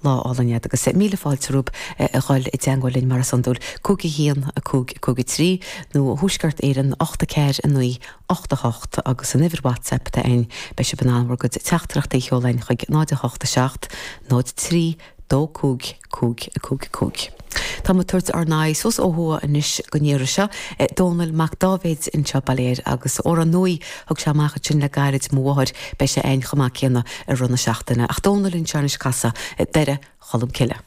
Lá álainn agat agus míle fáilte romhaibh a dhul i dteangmháil linn mar is iondúil, 5 1 5 5 3 nó Thuaisceart Éireann 8 4 9 8 8 agus an uimhir WhatsApp atá againn, beidh sibh in ann bhur gcuid teachtaireachtaí a sheoladh chuig 0 8 7 0 3 2 5 5 5 5. Tá muid ag tabhairt ár n-aghaidh suas ó thuaidh anois don iarraidh seo. Dónall Mac Dáibhéid anseo bail air agus amhrán nua a thug sé amach ansin le gairid, Mo Mháthair, beidh sé againn chomh maith céanna i rith na seachtaine. Ach Dónall anseo anois ag casadh Doire Cholm Cille.